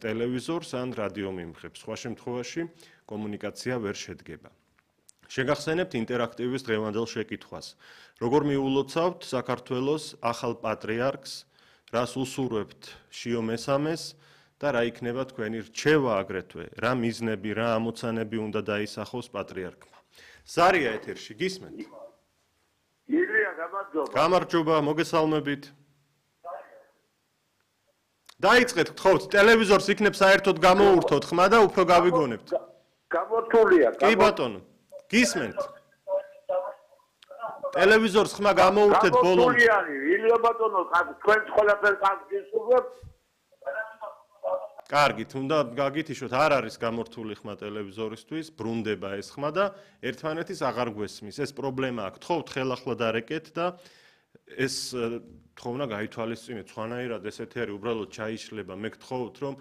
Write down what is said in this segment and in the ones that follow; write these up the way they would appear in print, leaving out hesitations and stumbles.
ტელევიზორს ან რადიო მიმღებს. სხვა შემთხვევაში კომუნიკაცია ვერ შედგება. შეგახსენებთ ინტერაქტივის დღევანდელ შეკითხვას. როგორ მიულოცავთ საქართველოს ახალ პატრიარქს, რას უსურვებთ შიო მესამეს და რა იქნება თქვენი რჩევა აგრეთვე, რა მიზნები, რა ამოცანები უნდა დაისახოს პატრიარქმა. ზარია ეთერში, გისმენთ? ილია, გამარჯობა. გამარჯობა, მოგესალმებით. დაიწყეთ, გთხოვთ, ტელევიზორს იქნებ საერთოდ გამოურთოთ ხმა და უფრო გავიგონებთ. გამორთულია. კი ბატონო, გისმენთ? ტელევიზორს ხმა გამოურთეთ ბოლომდე. გამორთულია, ილია ბატონო, თქვენ ყველაფერს გისურვებთ? კარგით, უნდა გაგითიშოთ, არ არის გამორთული ხმა ტელევიზორისთვის, ბრუნდება ეს ხმა და ერთმანეთის აღარ გვესმის. ეს პრობლემა აქვს. გთხოვთ, ხელახლა დარეკეთ და ეს თხოვნა გაითვალისწინეთ, სხვანაირად ეს ეთერი უბრალოდ ჩაიშლება. მე გთხოვთ, რომ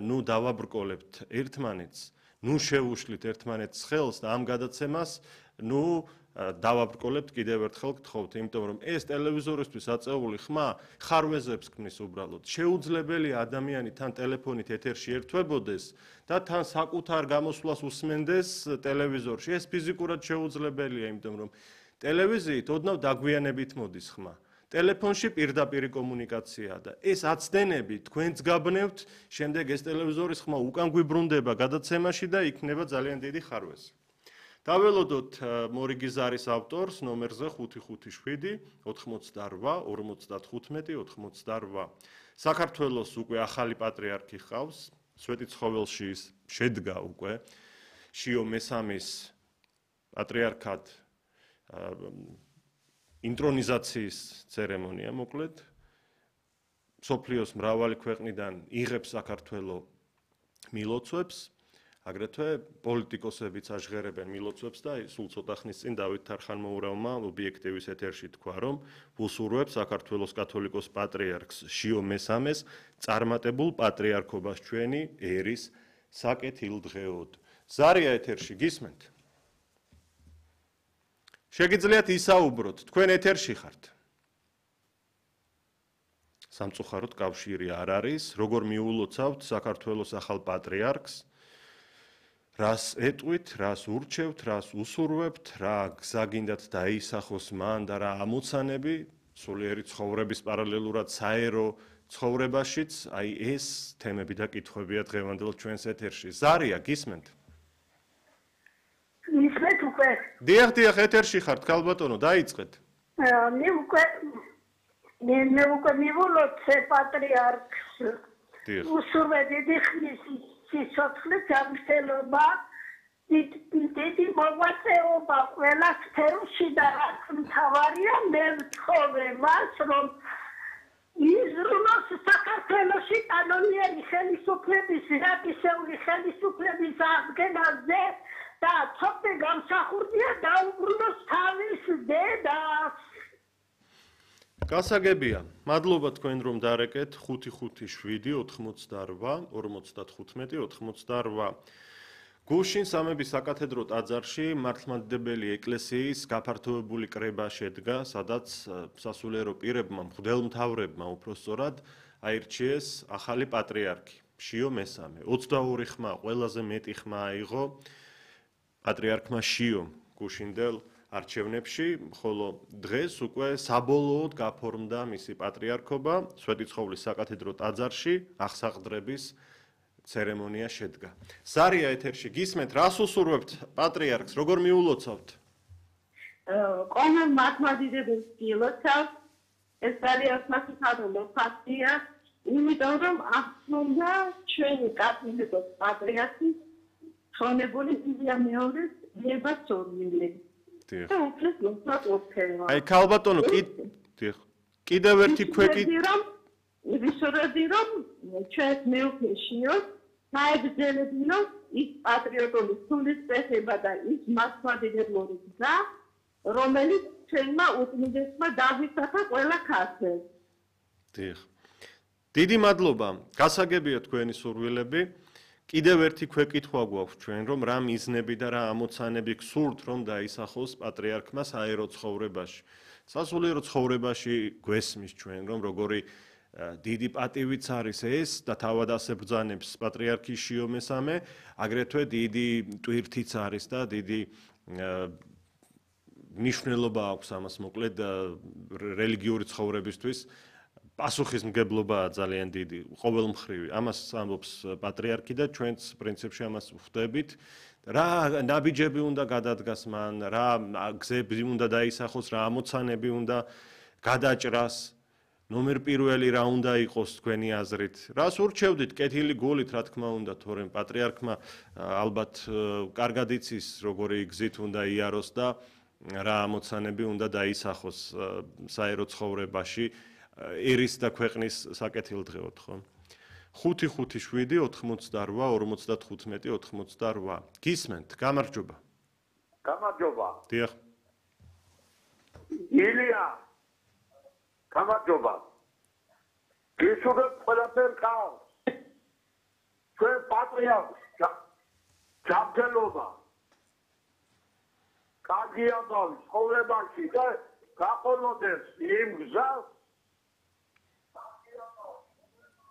ნუ დავაბრკოლებთ ერთმანეთს, ნუ შევუშლით ერთმანეთს ხელს და ამ გადაცემას ნუ დავაბრკოლებთ კიდევ ერთხელ გთხოვთ, იმიტომ რომ ეს ტელევიზორისთვის აწეული ხმა ხარვეზებს ქმნის უბრალოდ. შეუძლებელია ადამიანი თან ტელეფონით ეთერში ერთვებოდეს და თან საკუთარ გამოსვლას უსმენდეს ტელევიზორში. ეს ფიზიკურად შეუძლებელია, იმიტომ რომ ტელევიზიით ოდნავ დაგვიანებით მოდის ხმა. ტელეფონში პირდაპირი კომუნიკაციაა და ეს აცდენები თქვენც გაბნევთ, შემდეგ ეს ტელევიზორის ხმა უკან გვიბრუნდება გადაცემაში და იქნება ძალიან დიდი ხარვეზი. დაველოდოთ მორიგი ზარის ავტორს ნომერზე 557 88 55 88. საქართველოს უკვე ახალი პატრიარქი ხავს, სვეტიცხოველში შედგა უკვე შიო მესამის პატრიარქად ინტრონიზაციის ცერემონია მოკლედ. მსოფლიოს მრავალი ქვეყნიდან იღებს საქართველოს მილოცვებს. აგრეთვე პოლიტიკოსებიც აჟღერებენ მილოცვებს და სულ ცოტა ხნის წინ დავით თარხანმოურავმა ობიექტივის ეთერში თქვა, რომ უსურვებს საქართველოს კათოლიკოს პატრიარქს შიო მესამეს წარმატებულ პატრიარქობას ჩვენი ერის საკეთილდღეოდ. ზარია ეთერში, გისმენთ? შეგიძლიათ ისაუბროთ, თქვენ ეთერში ხართ. სამწუხაროდ კავშირი არ არის, როგორ მიულოცავთ საქართველოს ახალ პატრიარქს, რას ეტყვით, რას ურჩევთ, რას უსურვებთ, რა გზა გინდათ დაისახოს მან და რა ამოცანები სულიერი ცხოვრების პარალელურად საერო ცხოვრებაშიც, აი ეს თემები და კითხვებია დღევანდელ ჩვენს ეთერში. ზარია, გისმენთ? ისმენთ უკვე? დიახ, ეთერში ხართ, ქალბატონო, დაიწყეთ. მე უკვე მივულოცე პატრიარქს. უსურვე დიდი ხნის სიცოცხლე, ჯანმრთელობა, დიდი მოღვაწეობა ყველა სფეროში და რაც მთავარია, მე ვთხოვე მას, რომ იზრუნოს საქართველოში კანონიერი ხელისუფლების, რაკისეული ხელისუფლების აღდგენაზე და ცოტა გამსახურდია დაუბრუნოს თავის დედას. გასაგებია, მადლობა თქვენ რომ დარეკეთ 557 88 55 88. გუშინ სამების საკათედრო ტაძარში მართლმადიდებელი ეკლესიის გაფართოებული კრება შედგა, სადაც სასულიერო პირებმა, მღვდელმთავრებმა უпроსწორად აირჩიეს ახალი პატრიარქი, შიო მესამე. 22 ხმა, ყველაზე მეტი ხმა აიღო პატრიარქმა შიომ გუშინდელ არჩევნებში, ხოლო დღეს უკვე საბოლოოდ გაფორმდა მისი პატრიარქობა, სვეტიცხოვლის საკათედრო ტაძარში აღსაყდრების ცერემონია შედგა. ზარია ეთერში, გისმენთ, რას უსურვებთ პატრიარქს, როგორ მიულოცავთ? ყოველ მართლმადიდებელს გილოცავთ, ეს არის მასწავლებელი ფაქტია, იმიტომ რომ აღწევდა ჩვენი კათოლიკოს პატრიარქის ხონებული სია მეორის ლებასორნილი. აი ქალბატონო, კიდევ ერთი ქვეკითხვი ვისურვებდი რომ ჩვენს მეუღლეშიო საერთოდ ის პატრიოტული სულისწრება და ის მასმადიდებლური გზა, რომელიც ჩვენმა უწმინდესმა დაგვისახა ყველა ქართველს. დიდი მადლობა, გასაგებია თქვენი სურვილები. კიდევ ერთი ქვეკითხვა გვაქვს ჩვენ, რომ რა მიზნები და რა ამოცანები გსურთ, რომ დაისახოს პატრიარქმა საერო ცხოვრებაში. სასულიერო ცხოვრებაში გვესმის ჩვენ, რომ როგორი დიდი პატივიც არის ეს და თავად ასე ბრძანებს პატრიარქი შიო მესამე, აგრეთვე დიდი ტვირთიც არის და დიდი მნიშვნელობა აქვს ამას მოკლედ რელიგიური ცხოვრებისთვის. პასუხისმგებლობაა ძალიან დიდი, ყოველმხრივი. ამას ამბობს პატრიარქი და ჩვენც პრინციპში ამას ვხვდებით. რა ნაბიჯები უნდა გადადგას მან, რა გზები უნდა დაისახოს, რა ამოცანები უნდა გადაჭრას. ნომერ პირველი რა უნდა იყოს თქვენი აზრით? რას ურჩევდით კეთილი გულით, რა თქმა უნდა, თორემ პატრიარქმა ალბათ კარგად იცის, როგორი გზით უნდა იაროს და რა ამოცანები უნდა დაისახოს საერო ცხოვრებაში. ერის და ქვეყნის საკეთილდღეოდ, ხო? 5-5-7-88-55-88. გისმენთ, გამარჯობა. გამარჯობა. დიახ. ილია. გამარჯობა. გისურვებ ყველაფერ კარგს. ჩვენ პატრიარქს ჯანმრთელობა. კარგი ამბავი ცხოვრებაში და გაყოლოდეს იმ გზას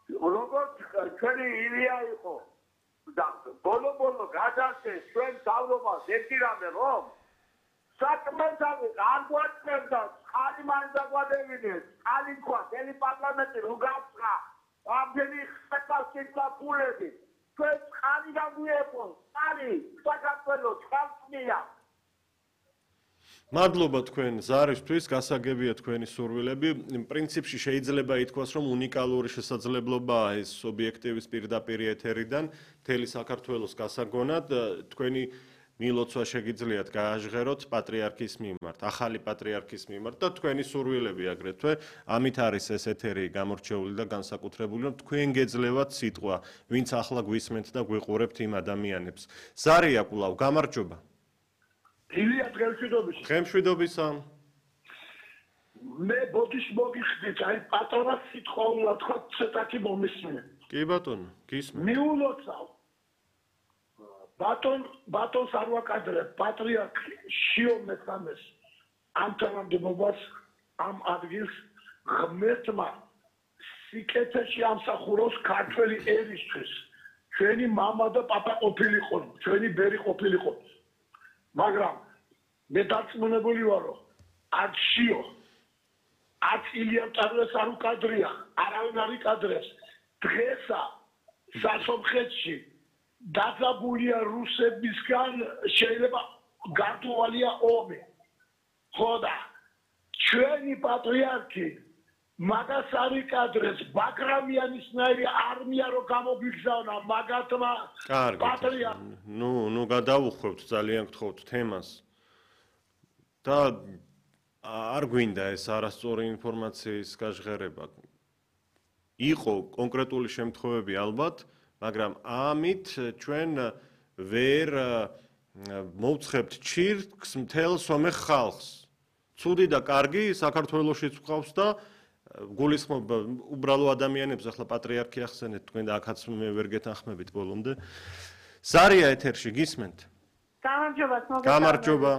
როგორც ჩვენი ილია იყო და ბოლო გადასცეს ჩვენ თავრობას ერთი რამე რომ საკმაოდ არ გვაწყებდა ხალი მაინც დაგვადებინეს ხალი თქვა ელი პარლამენტი რო გაწყდა ამდენი ხალხის ფულები ჩვენ ხალი დაგვიეპოს ხალი საქართველოს ხალხია მადლობა თქვენ ზარისთვის, გასაგებია თქვენი სურვილები. პრინციპში შეიძლება ითქვას, რომ უნიკალური შესაძლებლობაა ეს ობიექტივის პირდაპირ ეთერიდან მთელი საქართველოს გასაგონად. თქვენი მილოცვა შეგიძლიათ გააჟღეროთ პატრიარქის მიმართ, ახალი პატრიარქის მიმართ და თქვენი სურვილები აგრეთვე. ამით არის ეს ეთერი გამორჩეული და განსაკუთრებული, რომ თქვენ გეძლევათ სიტყვა, ვინც ახლა გვისმენთ და გვიყურებთ იმ ადამიანებს. ზარია კვლავ, გამარჯობა. ილია დღემშვიდობისა. დღემშვიდობისა. მე ბოდიშ მოგიხდით, აი პატარა სიტყვა უნდა თქვა, ცოტათი მომისმენ. კი ბატონო, გისმენთ. მიულოცავ. ბატონს არ ვაკადრებ, პატრიარქი შიო მესამეს ამ თანამდებობას ამ ადგილს ღმერთმა სიკეთეში ამსახუროს ქართველი ერისთვის. ჩვენი მამა და პაპა ყოფილიყო, ჩვენი ბერი ყოფილიყო. მაგრამ მე დარწმუნებული ვარ, რომ არც შიო, არც ილია ტარლეს არ უკადრია, არავინ არ იკადრებს. დღესა სასომხეთში დაძაბულია რუსებისგან შეიძლება გართულია ომი. ხო და ჩვენი პატრიარქი მაგას არ იკადრებს, ბაგრამიანისნაირი არმია რო გამოგვიგზავნა მაგათმა პატრიარქს. ნუ გადავუხვევთ ძალიან გთხოვთ თემას. და არ გვინდა ეს არასწორი ინფორმაციის გაჟღერება. იყო კონკრეტული შემთხვევები ალბათ, მაგრამ ამით ჩვენ ვერ მოვცხებთ ჩირკს მთელ სომეხ ხალხს. ცუდი და კარგი საქართველოშიც გვყავს და გულისხმობ უბრალო ადამიანებს ახლა პატრიარქი ახსენეთ თქვენ და აქაც მე ვერ გეთანხმებით ბოლომდე. ზარია ეთერში გისმენთ? გამარჯობა, გამარჯობა.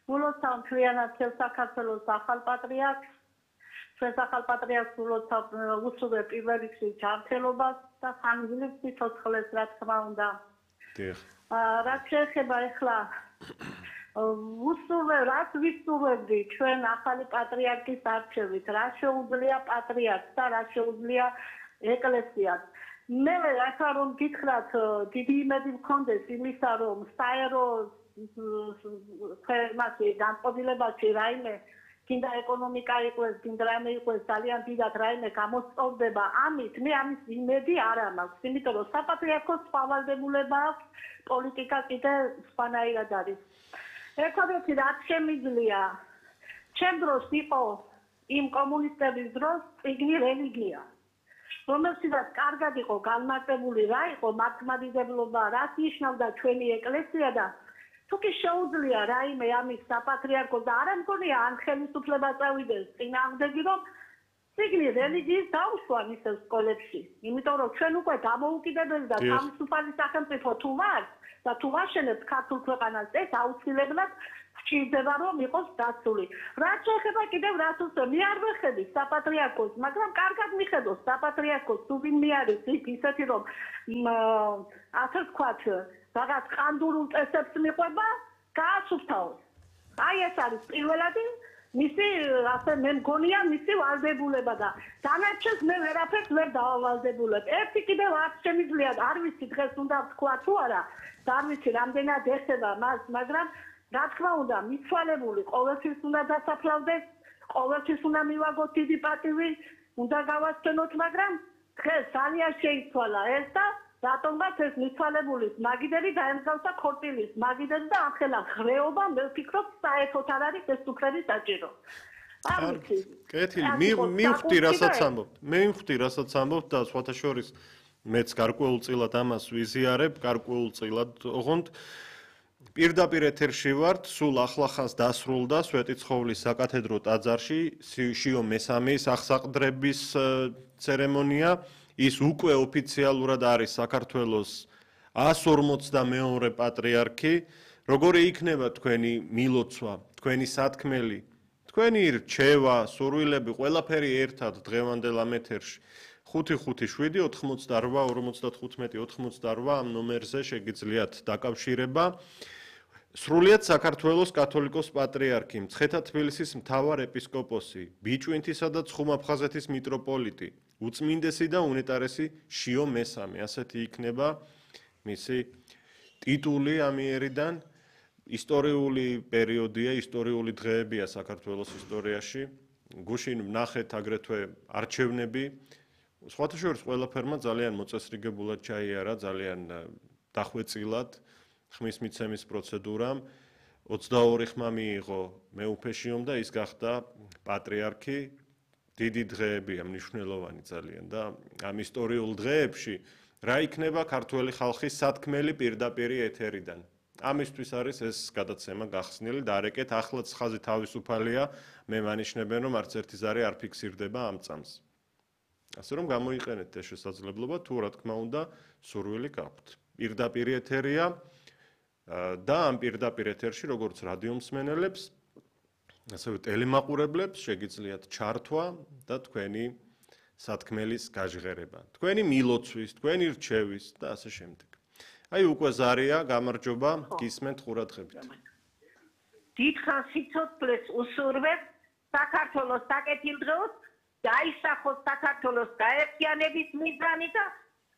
მულოცავ ჩვენად საქართველოს ახალ პატრიარქს. ჩვენ ახალ პატრიარქს მულოცავ უსურვებ პირველ რიგში ჯანმრთელობას და ხანგრძლივ სიცოცხლეს, რა თქმა უნდა. დიახ. რაც შეეხება ახლა რაც ვისურვებდი ჩვენ ახალი პატრიარქის არჩევით, რა შეუძლია პატრიარქს და რა შეუძლია ეკლესიას. მე ახლა რომ გითხრათ, დიდი იმედი მქონდეს იმისა, რომ საერო ფერმაში განწყობილებაში რაიმე კიდე ეკონომიკა იყოს, კიდე რაიმე იყოს ძალიან დიდად რაიმე გამოსწორდება, ამით მე ამის იმედი არ მაქვს, იმიტომ რომ საპატრიარქოს სავალდებულება აქვს, პოლიტიკა კიდე სხვანაირად არის. ერთადერთი რაც შემიძლია, ჩემ დროს იყო იმ კომუნისტების დროს წიგნი რელიგია, რომელშიც კარგად იყო განმარტებული რა იყო მართლმადიდებლობა, რაც ნიშნავდა ჩვენი ეკლესია და თუ კი შეუძლია რაიმე ამის საპატრიარქოს და არ მგონია ან ხელისუფლება წავიდეს წინააღმდეგი, რომ წიგნი რელიგიის დაუშვან ისევ სკოლებში, იმიტომ რომ ჩვენ უკვე დამოუკიდებელი და თავისუფალი სახელმწიფო თუ ვართ და თუ ვაშენებთ ქართულ ქვეყანას, ეს აუცილებლად გვჭირდება რომ იყოს დაცული. რაც შეეხება კიდევ რაც უცებ, მე არ ვეხედი საპატრიარქოს, მაგრამ კარგად მიხედოს საპატრიარქოს თუ ვინმე არის ისეთი რომ ასე ვთქვათ, რაღაც ყანდურულ წესებს მიყვება, გაასუფთავოს. აი ეს არის პირველადი მისი ასე მე მგონია მისი ვალდებულება და დანარჩენს მე ვერაფერს ვერ დავავალდებულებ. ერთი კიდევ არ შემიძლია, არ ვიცი დღეს უნდა ვთქვა თუ არა, არ ვიცი რამდენად ეხება მას, მაგრამ რა თქმა უნდა, მიცვალებული ყოველთვის უნდა დასაფლავდეს, ყოველთვის უნდა მივაგოთ დიდი პატივი, უნდა გავასწენოთ, მაგრამ დღეს ძალიან შეიცვალა ეს და რატომღაც ეს მიცვალებულის მაგიდერი დაემსგავსა ქორწილის მაგიდერი და ახლა ღრეობა მე ვფიქრობ საერთოდ არ არის ეს უფლების საჭირო. კეთილი, მივხვდი რასაც ამბობთ. მე მივხვდი რასაც ამბობთ და სხვათა შორის მეც გარკვეულწილად ამას ვიზიარებ, გარკვეულწილად, ოღონდ პირდაპირ ეთერში ვართ, სულ ახლახანს დასრულდა სვეტიცხოვლის საკათედრო ტაძარში შიო მესამის აღსაყდრების ცერემონია. ის უკვე ოფიციალურად არის საქართველოს 142 პატრიარქი. როგორი იქნება თქვენი მილოცვა, თქვენი სათქმელი, თქვენი რჩევა, სურვილები, ყველაფერი ერთად დღევანდელ ამ ეთერში 557-88-55-88 ამ ნომერზე შეგიძლიათ დაკავშირება. სრულიად საქართველოს კათოლიკოს პატრიარქი, მცხეთა თბილისის მთავარ ეპისკოპოსი, ბიჭვინთისა და ცხუმაფხაზეთის მიტროპოლიტი, უწმინდესი და უნეტარესი შიო მესამე, ასეთი იქნება მისი ტიტული ამიერიდან. ისტორიული პერიოდია, ისტორიული დღეებია საქართველოს ისტორიაში. გუშინ ვნახეთ აგრეთვე არჩევნები. სხვათა შორის ყველაფერმა ძალიან მოწესრიგებულად ჩაიარა, ძალიან დახვეწილად ხმის მიცემის პროცედურამ. 22 ხმა მიიღო მეუფეშიომ და ის გახდა პატრიარქი. დიდი დღეებია, მნიშვნელოვანი ძალიან და ამ ისტორიულ დღეებში რა იქნება ქართველი ხალხის სათქმელი პირდაპირი ეთერიდან. ამისთვის არის ეს გადაცემა გახსნილი და არეკეთ ახლაც ხაზი თავისუფალია, მე მანიშნებენ რომ არც ერთი ზარი არ ფიქსირდება ამ წამს. ასე რომ გამოიყენეთ ეს შესაძლებლობა, თუ რა თქმა უნდა სურვილი გაქვთ. პირდაპირ ეთერია და ამ პირდაპირ ეთერში როგორც რადიო მსმენელებს, ასევე ტელემაყურებლებს შეგიძლიათ ჩართვა და თქვენი სათქმელის გაჟღერება, თქვენი მილოცვის, თქვენი რჩევის და ასე შემდეგ. აი უკვე ზარია, გამარჯობა, გისმენთ ყურადღებით. დიდხანს სიცოცხლეს უსურვებ საქართველოს საკეთილდღეოდ, დაისახოს საქართველოს გაერთიანების მიზანი და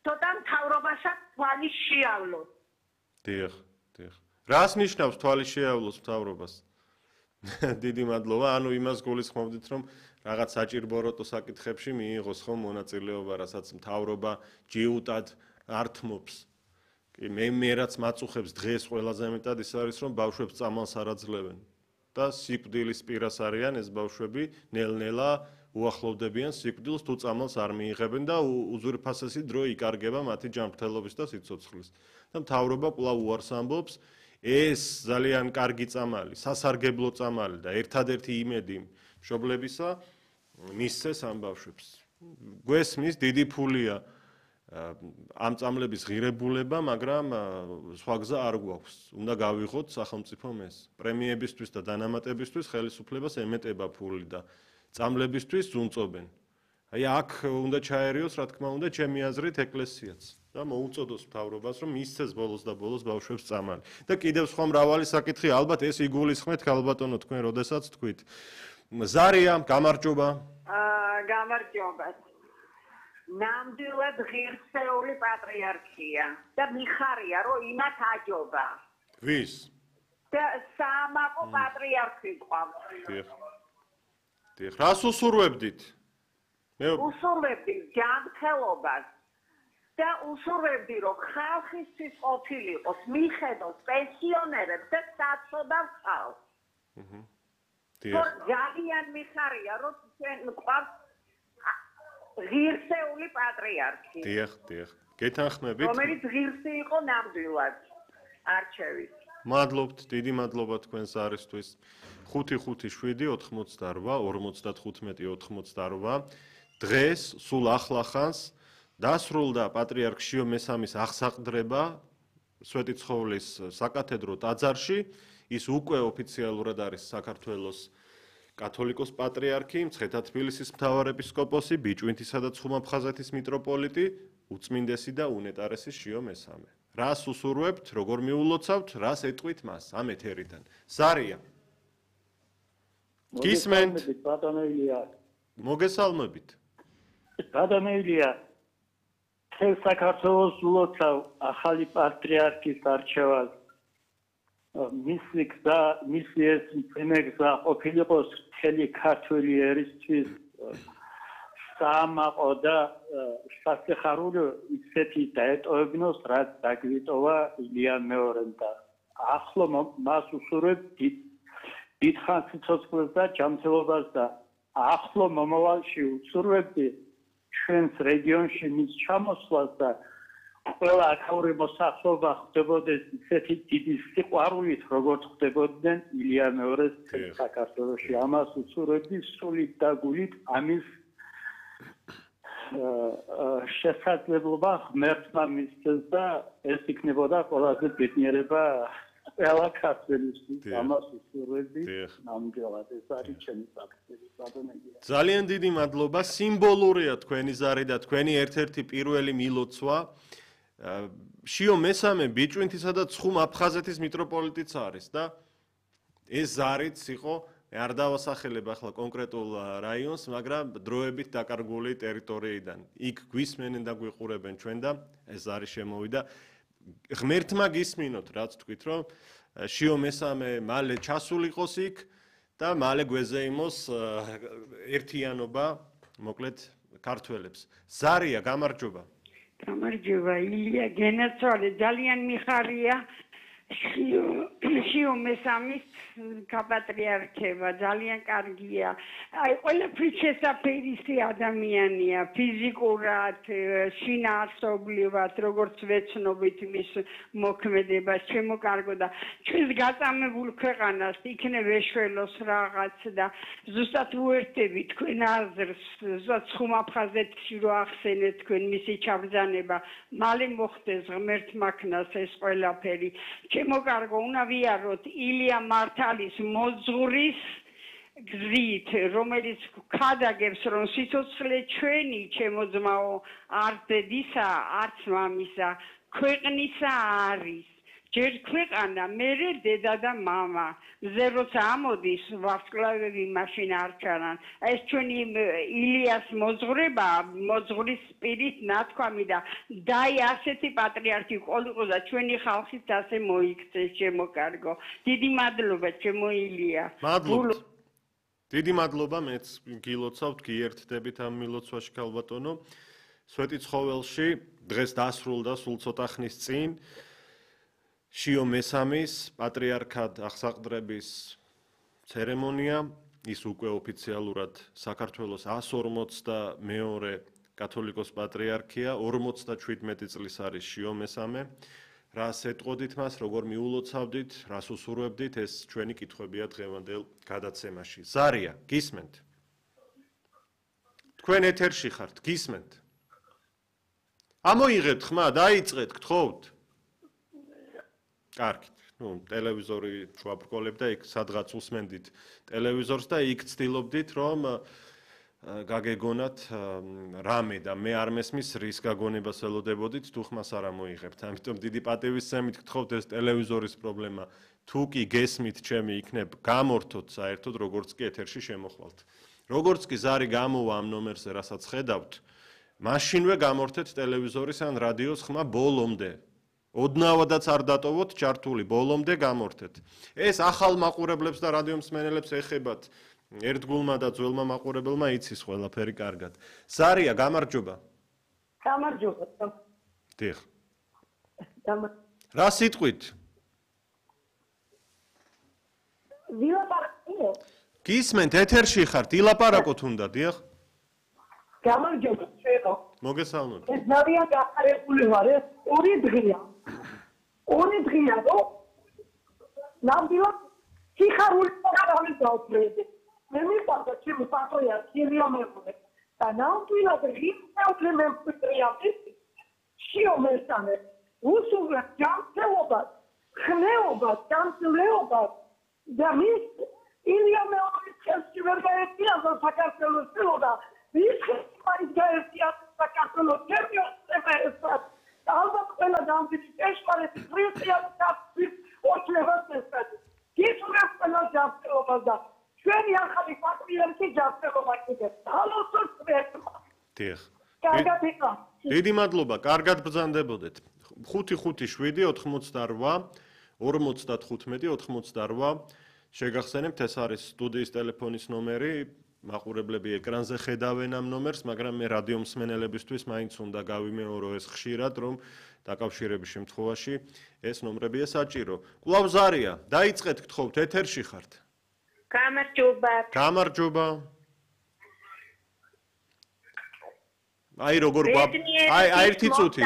ცოტა მთავრობასაც თვალი შეავლოს. დიახ. რას ნიშნავს თვალი შეავლოს მთავრობას? დიდი მადლობა. ანუ იმას გულისხმობდით, რომ რაღაც საჭირბოროტო საკითხებში მიიღოს ხომ მონაწილეობა, რასაც მთავრობა ჯიუტად ართმობს. მე რაც მაწუხებს დღეს ყველაზე მეტად ის არის, რომ ბავშვებს წამალს არ აძლევენ და სიკვდილის პირას არიან ეს ბავშვები, ნელ-ნელა უახლოვდებიან სიკვდილს, თუ წამალს არ მიიღებენ და უზურპასესი დრო იკარგება მათი ჯანმრთელობის და სიცოცხლის. და მთავრობა კვლავ უარს ამბობს, ეს ძალიან კარგი წამალი, სასარგებლო წამალი და ერთადერთი იმედი მშობლებისა მისცეს ამ ბავშვებს. გვესმის დიდი ფულია ამ წამლების ღირებულება, მაგრამ სხვა გზა არ გვაქვს. უნდა გავიღოთ სახელმწიფომ ეს. პრემიებისთვის და დანამატებისთვის ხელისუფლებას ემეტება ფული და წამლებისთვის ზუნწობენ. აი აქ უნდა ჩაერიოს, რა თქმა უნდა, ჩემი აზრით ეკლესიაც და მოუწოდოს მთავრობას, რომ მისცეს ბოლოს და ბოლოს ბავშვებს წამალი. და კიდევ სხვა მრავალი საკითხი, ალბათ ეს იგულისხმეთ, ქალბატონო, თქვენ როდესაც თქვით. ზარია, გამარჯობა. გამარჯობა. ნამდვილად ღირსეული პატრიარქია და მიხარია, რომ იმათ აჯობა. ვის? და საამაყო პატრიარქი ყავს. დიახ. რას უსურვებდით? უსურვებდი ჯანმრთელობას და უსურვებდი, რომ ხალხისთვის ყოფილიყოს, მიხედოს პენსიონერებს და საცოდავ ხალხს. ძალიან მიხარია, რომ ჩვენ ყავს ღირსეული პატრიარქი. დიახ. გეთანხმებით? რომელიც ღირსი იყო ნამდვილად არჩევით. მადლობთ, დიდი მადლობა თქვენს არისთვის. 557-88-95-88 დღეს სულ ახლახანს დასრულდა პატრიარქ შიო მესამის აღსაყდრება სვეტიცხოვლის საკათედრო ტაძარში. ის უკვე ოფიციალურად არის საქართველოს კათოლიკოს პატრიარქი, მცხეთა თბილისის მთავარეპისკოპოსი, ბიჭვინთისა და ცხუმაფხაზეთის მიტროპოლიტი, უწმინდესი და უნეტარესი შიო მესამე. რას უსურვებთ, როგორ მიულოცავთ, რას ეტყვით მას ამ ეთერიდან. ზარია. გისმენთ? მოგესალმებით. გადამევლია მთელ საქართველოს ულოცავ ახალი პატრიარქის არჩევას. მისი ეს მძიმე გზა ყოფილიყოს მთელი ქართული ერისთვის საამაყო და სასიხარულო ისეთი დაეტოვებინოს, რაც დაგვიტოვა ილია მეორემ და ახლო მას უსურვებ დიდხანს სიცოცხლეს და ჯანმრთელობას და ახლო მომავალში უსურვებდი ჩვენს რეგიონში მის ჩამოსვლას და ყველა აქაური მოსახლეობა ხდებოდეს ისეთი დიდი სიყვარულით, როგორც ხდებოდნენ ილია მეორეს საქართველოში. ამას უსურვებდი სულით და გულით ამის შესაძლებლობა ღმერთმა მისცეს და ეს იქნებოდა ყველაზე ბედნიერება ყველა ქართველისთვის. ამას უსურვებდი ნამდვილად ეს არის ჩემი საკითხი. ძალიან დიდი მადლობა. სიმბოლურია თქვენი ზარი და თქვენი ერთ-ერთი პირველი მილოცვა. შიო მესამე ბიჭვინთისა და ცხუმაფხაზეთის მიტროპოლიტიც არის და ეს ზარიც იყო არ დავასახელებ ახლა კონკრეტულ რაიონს, მაგრამ დროებით დაკარგული ტერიტორიიდან. იქ გვისმენენ და გვიყურებენ ჩვენ და ეს ზარი შემოვიდა. ღმერთმა გისმინოთ, რაც თქვით, რომ შიო მესამე მალე ჩასულიყოს იქ და მალე გვეზეიმოს ერთიანობა, მოკლედ ქართველებს. ზარია, გამარჯობა. გამარჯობა, ილია, გენაცვალე, ძალიან მიხარია შიო მესამის კაპატრიარქება, ძალიან კარგია. აი, ყველაფრით შესაფერისი ადამიანია, ფიზიკურად, შინაარსობრივად, როგორც ვეცნობით მის მოქმედებას, შემოკარგო და ჩვენს გაწამებულ ქვეყანას იქნებ ეშველოს რაღაც და ზუსტად უერთდები თქვენ აზრს, ზუსტად ცხუმაფხაზეთში რო ახსენეთ თქვენ მისი ჩაბრძანება, მალე მოხდეს ღმერთმა ქნას ეს ყველაფერი. შემოკარგო უნდა ვიაროთ ილია მართალის მოძღვრის გზით, რომელიც ქადაგებს, რომ სიცოცხლე ჩვენი, ჩემო ძმაო, არც დედისა, არც მამისა, ქვეყნისა არის. ჯერ ქვეყანა, მერე დედა და მამა. მზე როცა ამოდის, ვარსკვლავები მაშინ არ ჩანან. ეს ჩვენი ილიას მოძღვრება, მოძღვრის სპირით ნათქვამი და დაი ასეთი პატრიარქი ყოლიყო და ჩვენი ხალხით ასე მოიქცეს, შემოკარგო. დიდი მადლობა, ჩემო ილია. მადლობა. დიდი მადლობა, მეც გილოცავთ, გიერთდებით ამ მილოცვაში ქალბატონო. სვეტი ცხოველში დღეს დასრულდა სულ ცოტა ხნის წინ. შიო მესამის პატრიარქად აღსაყდრების ცერემონია, ის უკვე ოფიციალურად საქართველოს 142 კათოლიკოს პატრიარქია, 57 წლის არის შიო მესამე. რას ეტყოდით მას, როგორ მიულოცავდით, რას უსურვებდით, ეს ჩვენი კითხვებია დღევანდელ გადაცემაში. ზარია, გისმენთ? თქვენ ეთერში ხართ, გისმენთ? ამოიღეთ ხმა, დაიწყეთ, გთხოვთ. კარგით. ტელევიზორი შუაბრკოლებ და იქ სადღაც უსმენდით ტელევიზორს და იქ ცდილობდით, რომ გაგეგონათ რამე და მე არ მესმის რის გაგონებას ელოდებოდით, თუ ხმას არ ამოიღებთ. ამიტომ დიდი პატივისცემით გთხოვთ ეს ტელევიზორის პრობლემა. თუ კი გესმით ჩემი იქნებ გამორთოთ საერთოდ, როგორც კი ეთერში შემოხვალთ. როგორც კი ზარი გამოვა ამ ნომერზე, რასაც ხედავთ, მაშინვე გამორთეთ ტელევიზორის ან რადიოს ხმა ბოლომდე. ოდნავადაც არ დატოვოთ ჩართული, ბოლომდე გამორთეთ. ეს ახალ მაყურებლებს და რადიო მსმენელებს ეხებათ. ერთგულმა და ძველმა მაყურებელმა იცის ყველაფერი კარგად. ზარია, გამარჯობა. გამარჯობა. დიახ. რა სიტყვით? ვილაპარაკო. გისმენთ, ეთერში ხართ, ილაპარაკოთ უნდა, დიახ. გამარჯობა, შეეყო. მოგესალმებით. ეს ძალიან გახარებული ვარ, ეს ორი დღეა. ორი დღეა, რომ ნამდვილად სიხარული პროგრამის დავწერე. მე მიყვარდა ჩემი პატრიარქი ილია მეორე და ნამდვილად რიფეუთლე მემკვიდრეა შიო მესამე უსურვებ ჯანმრთელობას, ხნეობა, დამძლეობა და მის ილია მეორის ხელში ვერ გაერთიანდა საქართველოს წილოდა მის ხელში მაინც გაერთიანდა საქართველოს თერმიოსება ესად ალბათ ყველა დამძიმი ჭეშმარიტი ქრისტიანობის ოჩლებას ესად გისურვებს ყველა ჯანმრთელობას და ჩვენი ახალი პატრიარქი ჯანმრთელობა კიდევ თალოსოს ვერტმა დიახ კარგად იყო დიდი მადლობა კარგად ბრძანდებოდეთ 557-88 55-88 შეგახსენებთ ეს არის სტუდიის ტელეფონის ნომერი მაყურებლები ეკრანზე ხედავენ ამ ნომერს მაგრამ მე რადიო მსმენელებისთვის მაინც უნდა გავიმეორო ეს ხშირად რომ დაკავშირების შემთხვევაში ეს ნომრებია საჭირო კვლავ ზარია დაიწყეთ გთხოვთ ეთერში ხართ გამარჯობა აი როგორ აი ერთი წუთი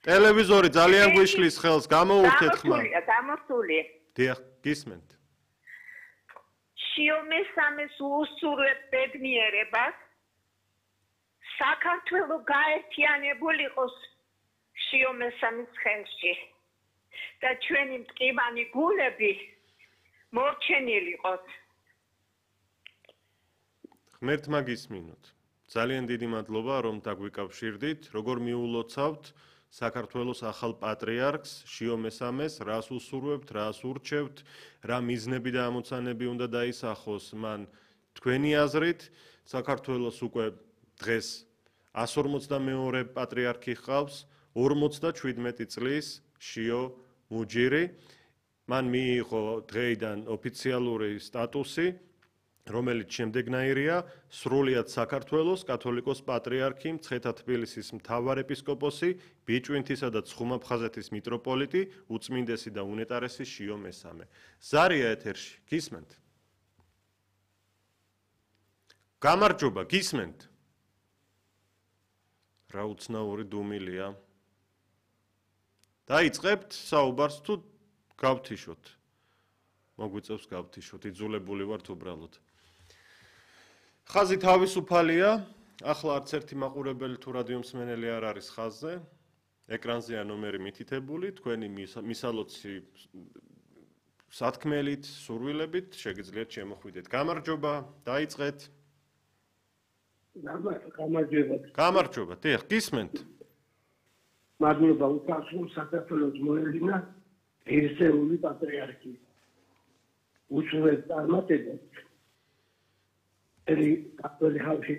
ტელევიზორი ძალიან გვიშლის ხელს გამოურთეთ ხმა გამოსულია დიახ გისმენთ შიომესამეს უსურვებ ბედნიერებას საქართველო გაერთიანებული იყოს შიომესამის ხელში და ჩვენი მტკივანი გულები მორჩენილიყოს ღმერთმა გისმინოთ ძალიან დიდი მადლობა რომ დაგვიკავშირდით როგორ მიულოცავთ საქართველოს ახალ პატრიარქს შიომესამეს რას უსურვებთ რას ურჩევთ რა მიზნები და ამოცანები უნდა დაისახოს მან თქვენი აზრით საქართველოს უკვე დღეს 152 პატრიარქი ჰყავს 57 წლის შიო მუჯირი მან მიიღო დღეიდან ოფიციალური სტატუსი რომელიც შემდეგნაირია სრულიად საქართველოს კათოლიკოს პატრიარქი მცხეთა თბილისის მთავარ ეპისკოპოსი ბიჭვინთისა და ცხუმაფხაზეთის მიტროპოლიტი უწმინდესი და უნეტარესი შიო მესამე ზარია ეთერში გისმენთ გამარჯობა გისმენთ რა უცნაური დუმილია დაიწყებთ საუბარს თუ გავთიშოთ მოგვიწევს გავთიშოთ იძულებული ვართ უბრალოდ ხაზი თავისუფალია ახლა არც ერთი მაყურებელი თუ რადიო მსმენელი არ არის ხაზზე ეკრანზეა ნომერი მითითებული თქვენი მისალოცი სათქმელით სურვილებით შეგიძლიათ შემოხვიდეთ გამარჯობა დაიწყეთ გამარჯობა დიახ გისმენთ მადლობა უკაცრულ საქართველოს მოედინა ერთეული პატრიარქი უშუალოდ წარმატებებს კათოლიკე ხალხი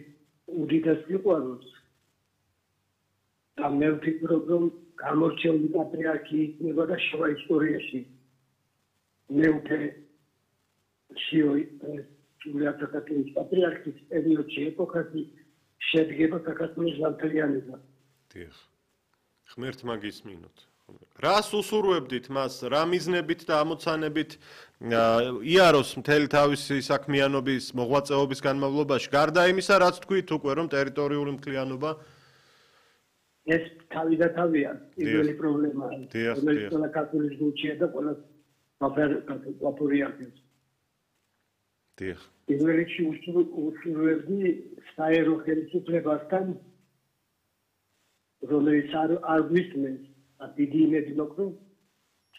უდიდეს სიყვარულს და მე ვფიქრობ რომ გამორჩეული პატრიარქი იქნება და შუა ისტორიაში მეუქე შიო საქართველოს პატრიარქის პერიოდში ეპოქაში შედგება საქართველოს განთლიანება დიახ ღმერთმა გისმინოთ რას უსურვებდით მას რა მიზნებით და ამოცანებით იაროს მთელი თავისი საქმიანობის მოღვაწეობის განმავლობაში გარდა იმისა რაც თქვით უკვე რომ ტერიტორიული მთლიანობა ეს თავი და თავია პირველი პრობლემაა რომელიც ყველა კათოლიკოს გულშია და ყველა პატრიარქებს დიახ პირველი უსურვებდი საერო ხელისუფლებასთან რომელიც არ გვისმენს დიდი იმედი მოკრო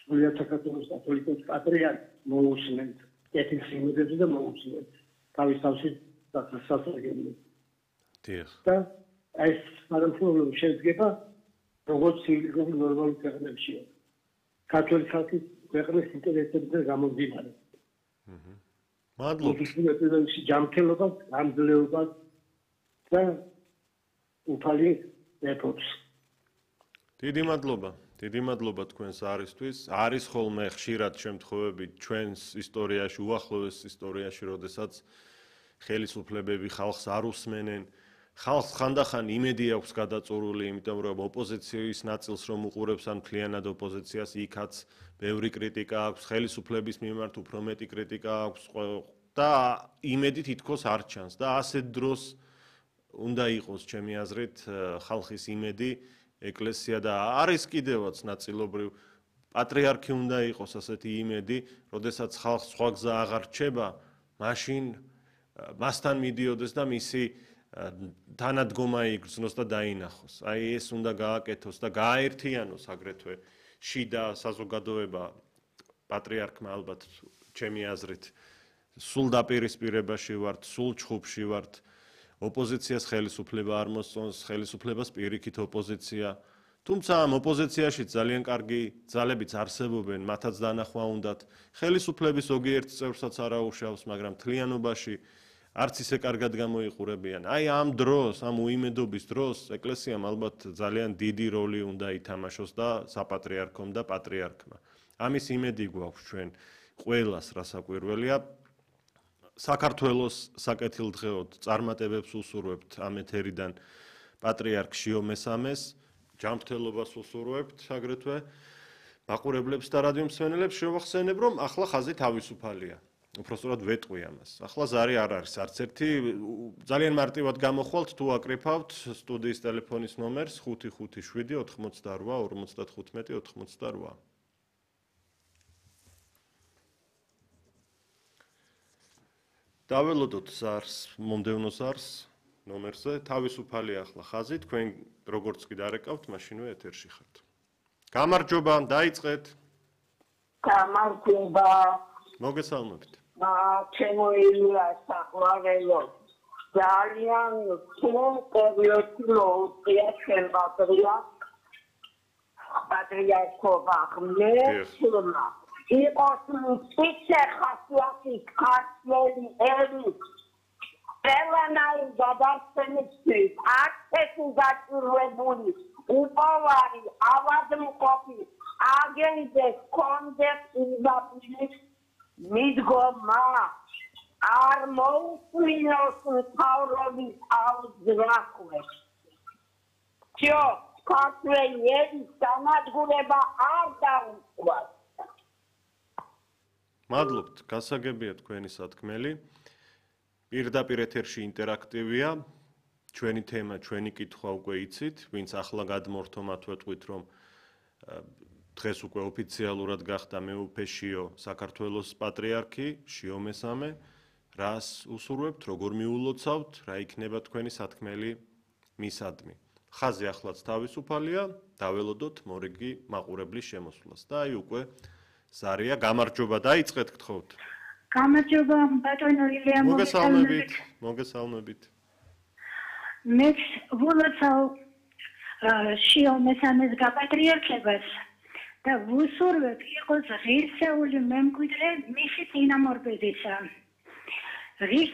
სრულიად საქართველოს კათოლიკოს პატრიარქს მოусმენთ ეთის იმედებზე და მოусმენთ თავის სასწრაფოდ დიახ და ეს სამართლობრივ შედგება როგორც ცივილიზებული ნორმალური ქვეყნებში კათოლიკოს ხალხის ქვეყნის ინტერესებზე გამომდინარე მადლობა ის ჯანმრთელობა გამძლეობა და უფალი ეპოქს დიდი მადლობა თქვენს არისთვის არის ხოლმე ხშირად შემთხვევები ჩვენს ისტორიაში უახლოეს ისტორიაში როდესაც ხელისუფლებები ხალხს არ უსმენენ ხალხს ხანდახან იმედი აქვს გადაწურული იმიტომ რომ ოპოზიციის ნაწილს რომ უყურებს ან მთლიანად ოპოზიციას იქაც ბევრი კრიტიკა აქვს ხელისუფლების მიმართ უფრო მეტი კრიტიკა აქვს და იმედი თითქოს არ ჩანს და ასეთ დროს უნდა იყოს ჩემი აზრით ხალხის იმედი ეკლესია და არის კიდევაც ნაწილობრივ პატრიარქი უნდა იყოს ასეთი იმედი, როდესაც ხალხს სხვა გზა აღარ რჩება, მაშინ მასთან მიდიოდეს და მისი თანადგომა იგრძნოს და დაინახოს. აი ეს უნდა გააკეთოს და გააერთიანოს აგრეთვე შიდა საზოგადოება პატრიარქმა ალბათ ჩემი აზრით სულ დაპირისპირებაში ვართ, სულ ჩხუბში ვართ. ოპოზიციას ხელისუფლება არ მოსწონს, ხელისუფლებას პირიქით ოპოზიცია. თუმცა ამ ოპოზიციაში ძალიან კარგი ძალებიც არსებობენ, მათაც დანახვა უნდათ. ხელისუფლების ზოგიერთ წევრსაც არ აუშავს, მაგრამ თლიანობაში არც ისე კარგად გამოიყურებიან. აი ამ დროს, ამ უიმედობის დროს ეკლესიამ ალბათ ძალიან დიდი როლი უნდა ითამაშოს და საპატრიარქომ და პატრიარქმა. ამის იმედი გვაქვს ჩვენ ყველას, რასაკვირველია. საქართველოს საკეთილდღეოდ წარმატებებს უსურვებთ ამ ეთერიდან პატრიარქ შიო მესამეს, ჯანმრთელობას უსურვებთ აგრეთვე მაყურებლებს და რადიო მსმენელებს შევახსენებ, რომ ახლა ხაზი თავისუფალია. უпростоრად ვეტყვი ამას. ახლა ზარი არ არის არც ერთი, ძალიან მარტივად გამოხვალთ თუ აკრიფავთ სტუდიის ტელეფონის ნომერს 557 88 55 88. დაველოდოთ ზარს, მომდევნო ზარს ნომერზე, თავისუფალია ახლა ხაზი, თქვენ როგორც კი დარეკავთ, მაშინვე ეთერში ხართ. გამარჯობა, დაიწყეთ. გამარჯობა. მოგესალმებით. ჩემო ილია საყვარელო. ძალიან სულ პერიოდი მოუწია ჩვენ პატრიარქობა ღმერთმა. იყოს მწიცე ხასიათი ქართველი ერი. ყველანაირ გადარჩენისთვის აქცესი გაჭირვებული, უპოვარი, ავადმყოფი, აგენტებს კონდეს იზაპილის მიდგომა. არ მოусმინოს მთავრობის აუძრახვებს. ჯო, ქართველი ერის განადგურება არ დაუწყված. მადლობთ, გასაგებია თქვენი სათქმელი. პირდაპირ ეთერში ინტერაქტივია. ჩვენი თემა, ჩვენი კითხვა უკვე იცით, ვინც ახლა გადმორთო მათ ვეტყვით, რომ დღეს უკვე ოფიციალურად გახდა მეუფე შიო საქართველოს პატრიარქი, შიო მესამე. რას უსურვებთ, როგორ მიულოცავთ, რა იქნება თქვენი სათქმელი მისადმი. ხაზი ახლაც თავისუფალია, დაველოდოთ მორიგი მაყურებლის შემოსვლას და აი უკვე ზარია, გამარჯობა, დაიწყეთ გთხოვთ. გამარჯობა, ბატონო ილია, მოგესალმებით. მე ვილოცავ შიო მესამეს გაპატრიარქებას და ვუსურვებ იყოს ღირსეული მემკვიდრე მისი წინამორბედისა.